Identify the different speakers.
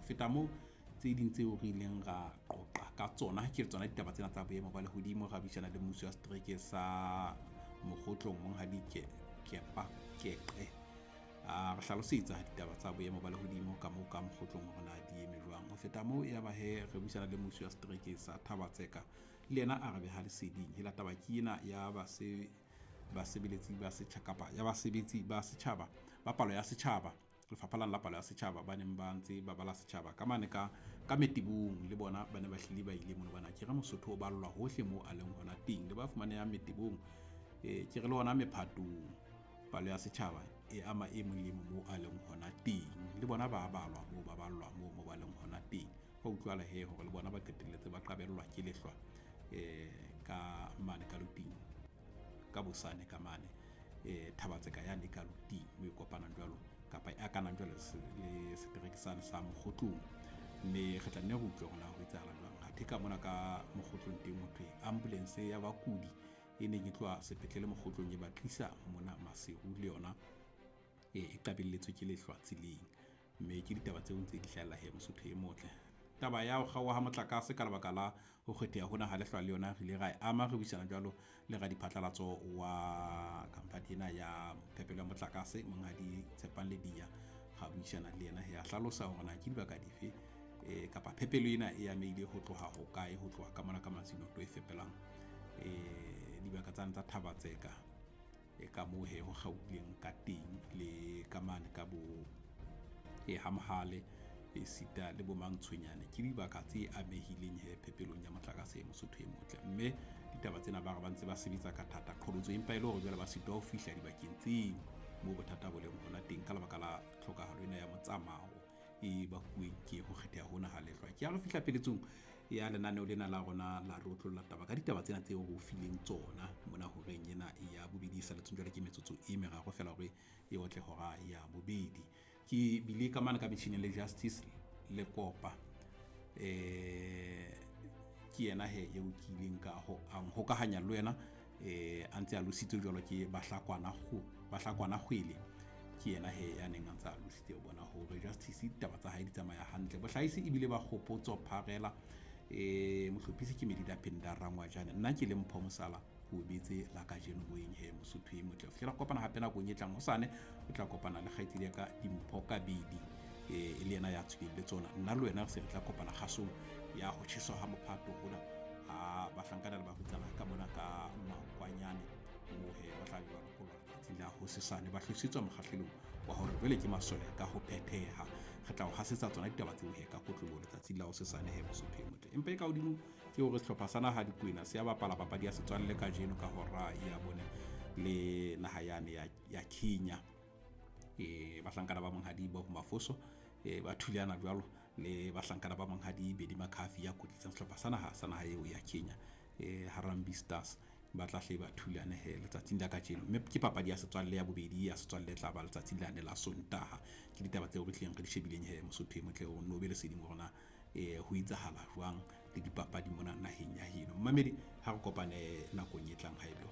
Speaker 1: Ho feta moo, tse ding tseo re ileng ra qoqa ka tsona ke tsona ditaba tsena tsa boemo ba lehodimo. Ra buisana le mmuso wa setereke sa Mokgotlong, monghadi Kepa Keqe, a re hlalosetsa ditaba tsa boemo ba lehodimo ka moo ka Mokgotlong hore na di eme jwang. Ho feta moo, ya ba he re buisana le mmuso wa setereke sa Thaba-Tseka, le yena a re beha leseding. Hela taba ke ena ya basebeletsi ba setjhaba kapa ya basebetsi ba setjhaba ba palo ya setjhaba, lefapha lane la palo ya setjhaba, ba neng ba ntse ba bala setjhaba ka mane ka Metebong. Le bona ba ne ba hlile ba ile mono bana. Ke re Mosotho o ballwa hohle moo a leng hona teng, le ba fumanehang Metebong, ke re le hona mephatong, palo ya setjhaba e ama e mong le mong moo a leng hona teng. Le bona ba balwa moo, ba ballwa moo mo ba leng hona teng. Hwa utlwahala he hore le bona ba qetelletse ba qabellwa ke lehlwa ka mane ka Luting, ka Bosane ka mane, Thaba-Tseka yane ka Luting, mo e kopanang jwalo kapa e akanang jwalo le setereke sane sa Mokgotlong. Mme re tla nne re utlwe hore na ho etsahala jwang. Athe ka mona ka Mokgotlong teng, ho thwe ambulance ya bakudi e neng e tloha sepetlele Mokgotlong e ba tlisa mona Maseru, le yona e qabelletswe ke lehlwa tseleng. Mme ke ditaba tseo ntse di hlahella he, Mosotho e motle. Taba ya ho kgaoha ha motlakase ka lebaka la ho kgetheha hona ha lehlwa le yona re ile ra e ama, re buisana jwalo le radiphatlalatso wa khampani ena ya phepelo ya motlakase, monghadi Tshepang Lediya. Ra buisana le yena he, a hlalosa hore na ke dibaka dife, kapa phepelo ena e amehile ho tloha hokae, ho tloha ka mona ka Masinoto e fepelang dibaka tsane tsa Thaba-Tseka, e ka moo he ho kgaohileng ka teng, le ka mane ka bo ha Mohale, esita le bo Mantshonyane. Ke dibaka tse amehileng he phepelong ya motlakase, Mosotho e motle. Mme ditaba tsena ba re ba ntse ba sebetsa ka thata, qholotso empa e le hore jwale ba sitwa ho fihla dibakeng tseo moo bothata bo leng hona teng ka lebaka la tlhokahalo ena ya motsamao e bakuweng ke ho kgetheha hona ha lehlwa. Ke ha re fihla peletsong ya lenaneo lena la rona la re otlolla taba ka ditaba tsena tseo re o fileng tsona mona horeng ena ya bobedi, e saletseng jwale ke metsotso e meraro feela hore e otle hora ya bobedi. Ke bile ka mane ka metjhining le Justice le Kopa, ke yena he eo ke ileng ka ho hokahanya le wena, a ntse a lositse jwalo ke Bahlakwana Kgwele. Ke yena he ya neng a ntse a lositse ho bona hore Justice ditaba tsa hae di tsamaya hantle. Bohlahisi ebile ba Kgopotso Pharela, mohlophisi ke Medida Penda Rangwajane, nna ke le Mpho Mosala ko betse la kajeno boeng he, Mosotho e motle. Ho fihlela kopana hape nakong e tlang hosane, o tla kopana le kgaitsedi ya ka Dimpho Kabedi, e le yena ya tswileng le tsona. Nna le wena re se re tla kopana kgasong ya ho tjheswa ha mophato hona ha bahlankana le barwetsana ka mona ka Makwanyane, moo he ba tla be ba lokollwa letsatsing la hosesane, ba hlositswe mokgahlelong wa hore jwale ke masole ka ho phetheha. Re tla o hasetsa tsona ditaba tseo he ka kotloloho letsatsing la hosesane he, Mosotho e motle. Empa e ka hodimo ke hore sehlopha sa naha Dikwena se ya bapala papadi ya setswalle kajeno ka hora ya bone le naha yane ya Kenya. Bahlankana ba monghadi Bob Mafoso, ba thulana jwalo le bahlankana ba monghadi Bedi Makhafi ya kwetlisang sehlopha sa naha sa naha eo ya Kenya, Harambee Stars, ba tla hle ba thulane he letsatsing la kajeno. Mme ke papadi ya setswalle ya bobedi ya setswalle e tla ba letsatsing lane la Sontaha. Ke ditaba tseo re tlileng re di shebileng he, Mosotho e motle, o nno be leseding hore na ho etsahala jwang le dipapadi mona naheng ya heno. Mmamedi, ha re kopane nakong e tlang haebe